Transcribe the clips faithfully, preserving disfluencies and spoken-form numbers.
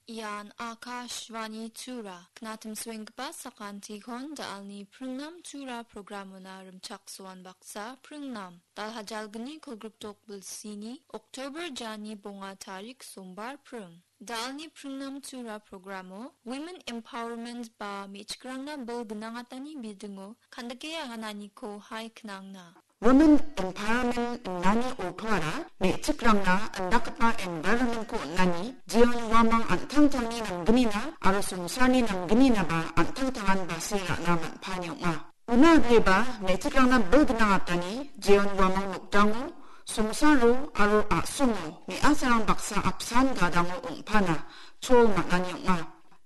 Ian Akashvani Tura. Knatim suenggipa sakantikon da·alni pringnam Tura programona rimchaksoan baksa pringnam. Dalha jalgni kolgrikdok bilsini Oktober jani bonga tarik sombar pring. Da·alni pringnam Tura programo Women Empowerment ba me·chikrangna bil gnangatani bidingo kandake agananiko hai knangna. Women Empowerment innani ortoara me·chikrangna indakgipa environmentko on·ani, jeon uamang an·tangtangni namgnina aro songsarni namgninaba an·tangtangan base ra·na man·pani ong·a. Una agreba me·chikrangna bil gnangatani jeon uamang nokdango songsaro aro a·songo me·asarang baksa apsan gadango ong·pana chol man·ani ong·a.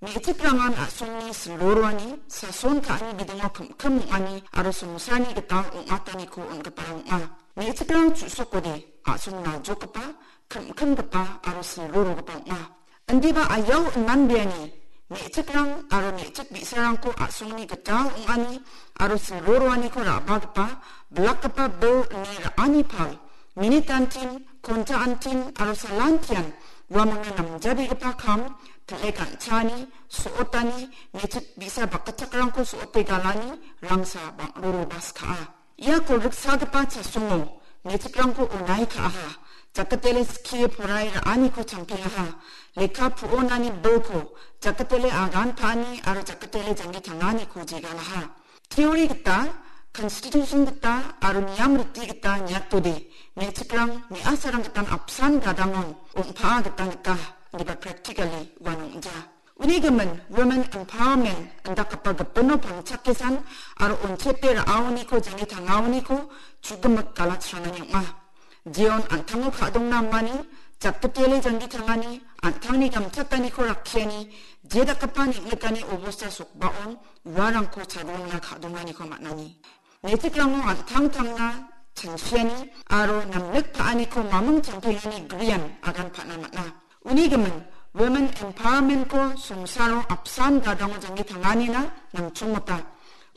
Me·chikrangan a·songni silroroani, sason ka·ani bidingo kim-kim ong·ani aro songsarni gital ong·ataniko on·giparang ong·a. Me·chikrang chu·sokode a·song naljokgipa, kim-kimgipa aro silrorogipa ong·a. Indiba ayao inanbeani, me·chikrang aro me·chik bi·sarangko a·songni gital ong·ani aro silroroaniko ra·bagipa, bilakgipa bil ine ra·ani pal, minitantin, konta antin aro salantian uamangna namjabegipa kam, tile ganchaani, so·otani, me·chik bi·sa bakgichakrangko so·ote galani rangsa bang·roroba skaa. Ia kolgriksagipa chasongo me·chikrangko onai ka·aha, jakatele skie porae ra·aniko champengaha, lekka pu·onani bilko, jakatele agan pa·ani aro jakatele janggi tanganiko jegalaha. Teori gita, konstitusion gita aro niam riti gita niatode, me·chikrang me·asarang gitan apsan gadangon ong·paa gitan gita, indiba practically uano ong·ja. Uni gimin Women Empowerment indakgipa gipino pangchakesan aro onchepe ra·aoniko janggi tangaoniko chugimik galachranani ong·a. Jeon an·tango ka·dongna amani, jakdipele janggi tangani, an·tangni gamchataniko rakkiani, je dakgipa neng·nikani obosta sokbaon uarangko chadongna ka·donganiko man·ani. Me·chikrango an·tangtangna chanchiani aro namlik pa·aniko maming champengani grian agan pa·na man·a. Uni gimin, Women Empowermentko songsaro apsan gadango janggi tanganina nangchongmota.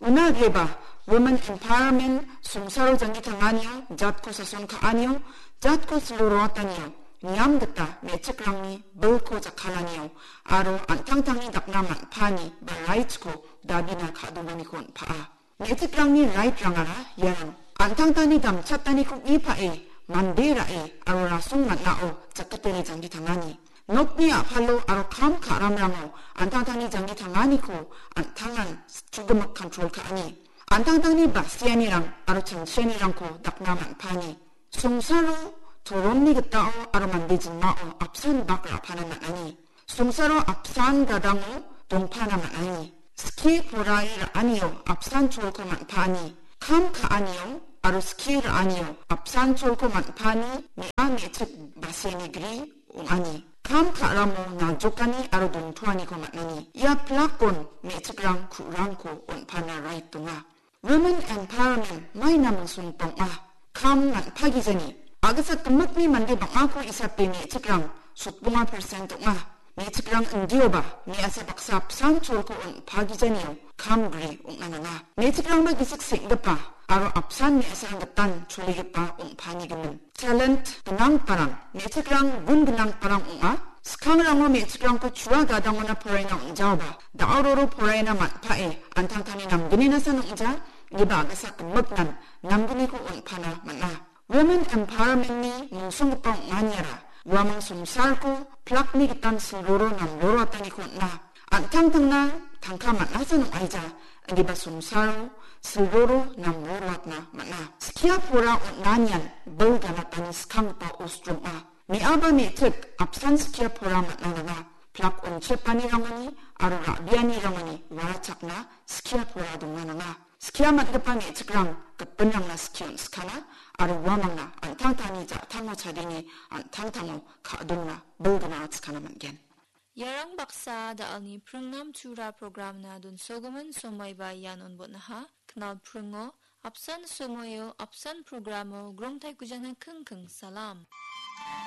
Una agreba, Women Empowerment songsaro janggi tanganio, jatko sason ka·anio, jatko silo roatanio, niam gita me·chikrangni bilko jakkalanio, aro an·tangtangni dakna man·pani ba rightsko dabina ka·donganiko on·paa. Me·chikrangni rightrangara iarang. An·tangtangni gamchataniko uipae mande ra·e aro rasong man·ao jakatele janggi tangani. Nokni a·palo aro kam ka·ramrango an·tangtangni janggi tanganiko an·tangan chugimik control ka·ani. An·tangtangni basianirang aro chanchianirangko dakna man·pani. Songsaro toromni gitao aro mande jingmao apsan bak ra·pana man·ani. Songsaro apsan gadango dongpana man·ani. Skie porae ra·anio apsan cholko man·paani. Kam ka·anio aro skie ra·anio apsan cholko man·paani me·a me·chik basiani gri ong·ani. Kam ka·ramo naljokani aro dongtoaniko man·ani. Ia plakon me·chikrang ku·rangko on·pana rait donga. Women Empowerment mai naming songpong ong·a. Kam man·pagijani. Agisa gimikni mande bang·ako isape me·chikrang sotbonga percent ong·a. Me·chikrang indioba me·asa baksa apsan cholko on·pagijanio kam gri ong·na nanga. Me·chikrangba gisik seng·gipa aro apsan me·asarang gitan choligipa ong·pani gimin. Talent gnangparang, me·chikrang gun gnangparang ong·a. Skangrango me·chikrangko chua gadangona poraina on·jaoba, da·o roro poraina man·pae, an·tangtangni namgninasan ong·ja, indiba agasa gimiknan namgniko on·pana man·a. Women Empowermentni mungsonggipa ong·aniara uamang songsarko plakni gitan silroro namroroataniko on·a. An·tangtangna tangka man·asa nong·aija, indiba songsaro silroro namroroatna man·a. Skia pora on·anian bil ganatani skanggipa ostrom ong·a. Me·aba me·chik apsan skia pora man·a nanga. Plak onchepanirangoni aro ra·bianirangoni uarachakna skia pora donga nanga. Skia man·gipa me·chikrang gipinrangna skie on·skana aro uamangna an·tangtangni ja·tango chadenge an·tangtango ka·dongna bil gna on·skana man·gen. Iarang baksa da·alni pringnam tura programna donsogimin somaiba ian on·botnaha. Knal pringo, apsan somoio, apsan programo, grongtaikujana kingking salam.